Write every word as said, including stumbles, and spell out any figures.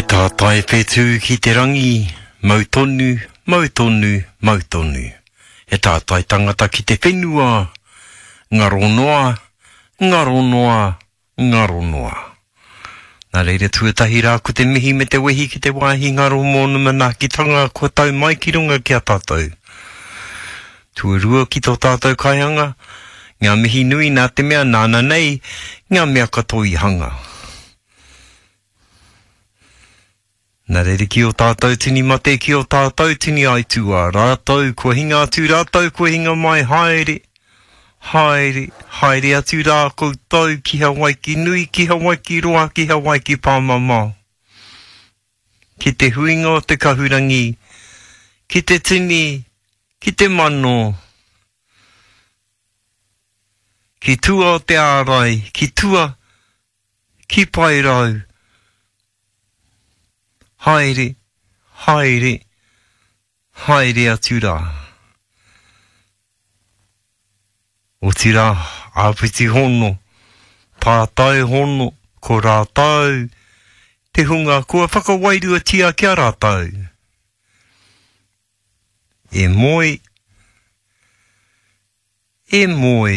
He tātai whetū ki te rangi, mau tonu, mau tonu, mau tonu. He tātai tangata ki te whenua, ngaro noa, ngaro noa, ngaro noa. Nā reira tuatahi rā ko te mihi me te wehi ki te wāhi ngaro mōna manaakitanga kua tau mai ki runga ki a tātou. Tuarua ki tō tātou kaihanga, ngā mihi nui nā te mea nāna nei, ngā mea katoa i hanga. Nā reira ki o tātou tini mate, ki o tātou tini aituā, rātou kua hinga atu, rātou kua hinga mai, haere, haere, haere atu rā koutou ki Hawaiki nui, ki Hawaiki roa, ki Hawaiki pāmamao. Ki te huinga o te kahurangi, ki te tini, ki te mano, ki tua o te ārai, ki tua, ki paerau, haere, haere, haere atu rā. Otirā, āpiti hono, tātai hono, ko rātou, te hunga kua whakawairuatia ki a rātou. E moe, e moe.